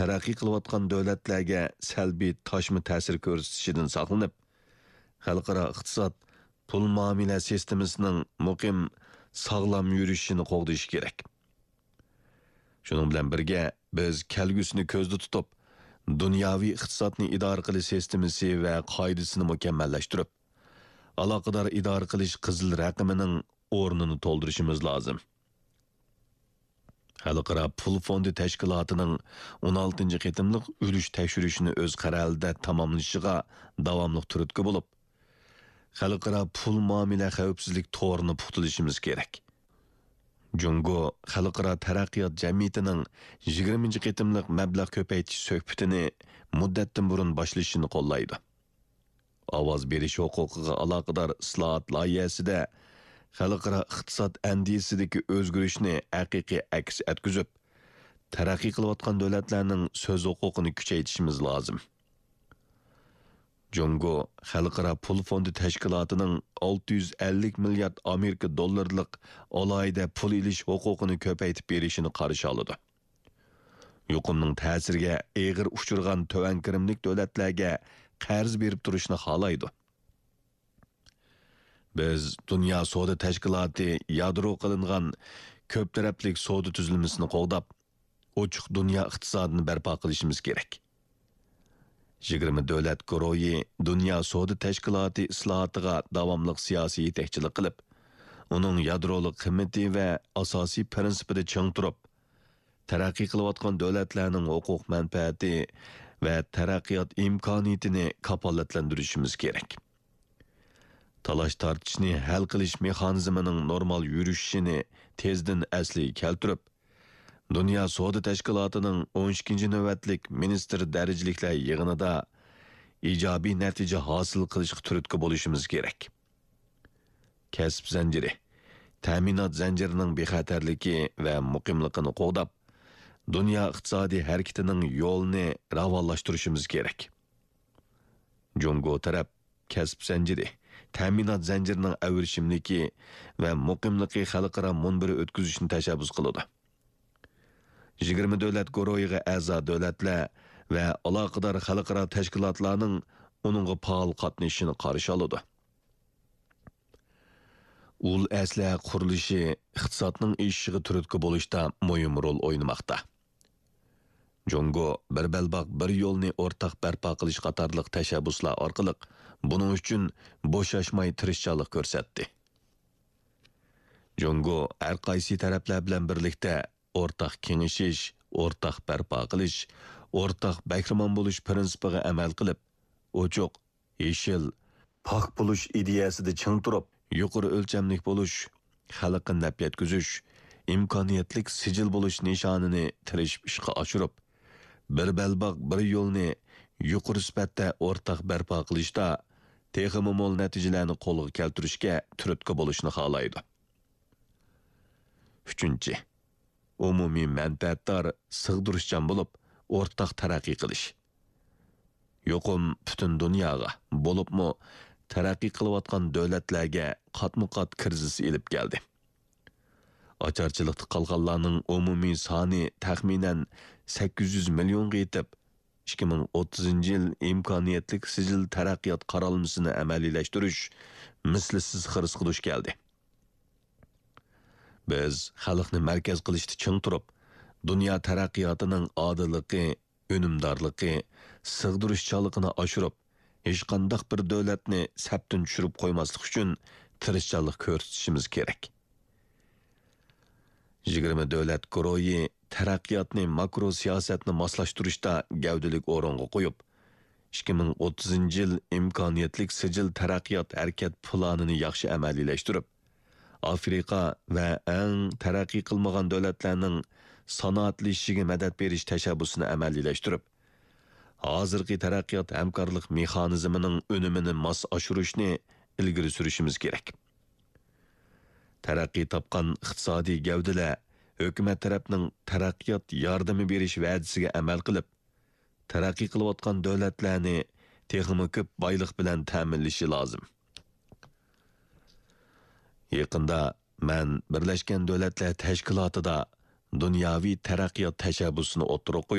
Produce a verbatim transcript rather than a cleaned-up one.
تەرەققىي قىلىۋاتقان دۆلەتلەرگە سەلبىي تاشما تەسىر كۆرسىتىشىدىن ساقلىنىپ، خەلقئارا ئىقتىساد، پۇل مۇئامىلە سىستېمىسىنىڭ مۇقىم، ساغلام يۈرۈشۈشىنى قوغدىشى كېرەك. شۇنىڭ بىلەن بىرگە، بىز كەلگۈسىنى كۆزدە تۇتۇپ، دۇنياۋى ئىقتىسادنى ئىدارە قىلىش سىستېمىسى ۋە قائىدىسىنى مۇكەممەللەشتۈرۈپ، ئالاقىدار ئىدارە قىلىش قىزىل رەقىمىنىڭ ئورنىنى تولدۇرۇشىمىز لازىم. خەلقئارا پۇل فوندى تەشكىلاتىنىڭ ئون ئالتىنچى قېتىملىق ئۈلۈش تەكشۈرۈشىنى ئۆز قەرەلىدە تاماملىشىغا داۋاملىق تۈرتكە بولۇپ، خەلقئارا پۇل مۇئامىلە خەۋپسىزلىك تورىنى پۇختىلىشىمىز كېرەك. جۇڭگو خەلقئارا تەرەققىيات جەمئىيىتىنىڭ يىگىرمىنچى قېتىملىق مەبلەغ كۆپەيتىش سۆھبىتىنى مۇددەتتىن بۇرۇن باشلىشىنى قوللايدۇ. ئاۋاز بېرىش ھوقۇقىغا ئالاقىدار ئىسلاھات لايىھەسىدە خەلقئارا ئىقتىساد ئەندىزىسىدىكى ئۆزگىرىشنى ھەقىقىي ئەكس ئەتكۈزۈپ، تەرەققىي قىلىۋاتقان دۆلەتلەرنىڭ سۆز ھوقۇقىنى كۈچەيتىشىمىز لازىم. جۇڭگو خەلقئارا پۇل فوندى تەشكىلاتىنىڭ ئالتە يۈز ئەللىك مىليارد ئامېرىكا دوللىرىلىق ئالاھىدە پۇل ئېلىش ھوقۇقىنى كۆپەيتىپ بېرىشىنى قارشى ئالىدۇ. يۇقۇمنىڭ تەسىرىگە ئېغىر ئۇچرىغان تۆۋەن كىرىملىك دۆلەتلەرگە قەرز بېرىپ تۇرۇشنى خالايدۇ. بىز دۇنيا سودا تەشكىلاتى يادرو قىلىنغان كۆپ تەرەپلىك سودا تۈزۈلمىسىنى قوغداپ، ئوچۇق دۇنيا ئىقتىسادىنى بەرپا قىلىشىمىز كېرەك. يىگىرمە دۆلەت گۇرۇھى دۇنيا سودا تەشكىلاتى ئىسلاھاتىغا داۋاملىق سىياسىي يېتەكچىلىك قىلىپ، ئۇنىڭ يادرولۇق قىممىتى ۋە ئاساسىي پىرىنسىپىدا چىڭ تۇرۇپ، تەرەققىي قىلىۋاتقان دۆلەتلەرنىڭ ھوقۇق مەنپەئەتى ۋە تەرەققىيات ئىمكانىيىتىنى كاپالەتلەندۈرۈشىمىز كېرەك. تالاش-تارتىشنى ھەل قىلىش مېخانىزمىنىڭ نورمال يۈرۈشۈشىنى تېزدىن ئەسلىگە كەلتۈرۈپ، دۇنيا سودا تەشكىلاتىنىڭ ئون ئىككىنچى نۆۋەتلىك مىنىستىر دەرىجىلىكلەر يىغىنىدا ئىجابىي نەتىجە ھاسىل قىلىشقا تۈرتكە بولۇشىمىز كېرەك. كەسىپ زەنجىرى، تەمىنات زەنجىرىنىڭ بىخەتەرلىكى ۋە مۇقىملىقىنى قوغداپ، دۇنيا ئىقتىسادىي ھەرىكىتىنىڭ يولىنى راۋانلاشتۇرۇشىمىز كېرەك. جۇڭگو تەرەپ كەسىپ زەنجىرى، تەمىنات زەنجىرىنىڭ ئەۋرىشىملىكى ۋە مۇقىملىقى خەلقئارا مۇنبىرى ئۆتكۈزۈشنى تەشەببۇس قىلىدۇ. يىگىرمە دۆلەت گۇرۇھىغا ئەزا دۆلەتلەر ۋە ئالاقىدار خەلقئارا تەشكىلاتلارنىڭ ئۇنىڭغا پائال قاتنىشىشىنى قارشى ئالىدۇ. ئۇل ئەسلىھە قۇرۇلۇشى ئىقتىسادنىڭ ئېشىشىغا تۈرتكە بولۇشتا مۇھىم رول ئوينىماقتا. جۇڭگو بىر بەلباغ، بىر يولنى ئورتاق بەرپا قىلىش قاتارلىق تەشەببۇسلار ئارقىلىق بۇنىڭ ئۈچۈن بوشاشماي تىرىشچانلىق كۆرسەتتى. جۇڭگو ھەر قايسى تەرەپلەر بىلەن بىرلىكتە ئورتاق كېڭىشىش، ئورتاق بەرپا قىلىش، ئورتاق بەھرىمەن بولۇش پىرىنسىپىغا ئەمەل قىلىپ، ئوچۇق، يېشىل، پاك بولۇش ئىدىيەسىدە چىڭ تۇرۇپ، يۇقىرى ئۆلچەملىك بولۇش، خەلققە نەپ يەتكۈزۈش، ئىمكانىيەتلىك سىجىل بولۇش نىشانىنى تىرىشىپ ئىشقا ئاشۇرۇپ، بىر بەلباغ، بىر يولنى يۇقىرى سۈپەتتە ئورتاق بەرپا قىلىشتا تېخىمۇ مول نەتىجىلەرنى قولغا كەلتۈرۈشكە تۈرتكە بولۇشنى خالايدۇ. ئۈچىنچى، ئومۇمىي مەنپەئەتدار، سىغدۇرۇشچان بولۇپ، ئورتاق تەرەققىي قىلىش. يۇقۇم پۈتۈن دۇنياغا، بولۇپمۇ تەرەققىي قىلىۋاتقان دۆلەتلەرگە قاتمۇ قات كىرىزىس ئېلىپ كەلدى. ئاچارچىلىقتا قالغانلارنىڭ ئومۇمىي سانى تەخمىنەن سەككىز يۈز مىليونغا يېتىپ، ئىككى مىڭ ئوتتۇزىنچى يىل ئىمكانىيەتلىك سىجىل تەرەققىيات قارالمىسىنى ئەمەلىيلەشتۈرۈش مىسلىسىز خىرىسقا دۇچ كەلدى. بىز خەلقنى مەركەز قىلىشتا چىڭ تۇرۇپ، دۇنيا تەرەققىياتىنىڭ ئادىللىقى، ئۈنۈمدارلىقى، سىغدۇرۇشچانلىقىنى ئاشۇرۇپ، ھېچقانداق بىر دۆلەتنى سەپتىن چۈشۈرۈپ قويماسلىق ئۈچۈن تىرىشچانلىق كۆرسىتىشىمىز كېرەك. يىگىرمە دۆلەت گۇرۇھى تەرەققىياتنى ماكرو سىياسەتنى ماسلاشتۇرۇشتا گەۋدىلىك ئورۇنغا قويۇپ، ئىككى مىڭ ئوتتۇزىنچى يىل ئىمكانىيەتلىك سىجىل تەرەققىيات ھەرىكەت پىلانىنى ياخشى ئەمەلىيلەشتۈرۈپ، ئافرىقا ۋە ئەڭ تەرەققىي قىلمىغان دۆلەتلەرنىڭ سانائەتلىشىشىگە مەدەت بېرىش تەشەببۇسىنى ئەمەلىيلەشتۈرۈپ، ھازىرقى تەرەققىيات ھەمكارلىق مېخانىزمىنىڭ ئۈنۈمىنى ماس ئاشۇرۇشنى ئىلگىرى سۈرۈشىمىز كېرەك. تەرەققىي تاپقان ئىقتىسادىي گەۋدىلەر ھۆكۈمەت تەرەپنىڭ تەرەققىيات ياردىمى بېرىش ۋەدىسىگە ئەمەل قىلىپ، تەرەققىي قىلىۋاتقان دۆلەتلەرنى تېخىمۇ كۆپ بايلىق بىلەن تەمىنلىشى لازىم. يېقىندا مەن بىرلەشكەن دۆلەتلەر تەشكىلاتىدا دۇنياۋى تەرەققىيات تەشەببۇسىنى ئوتتۇرىغا قويۇپ،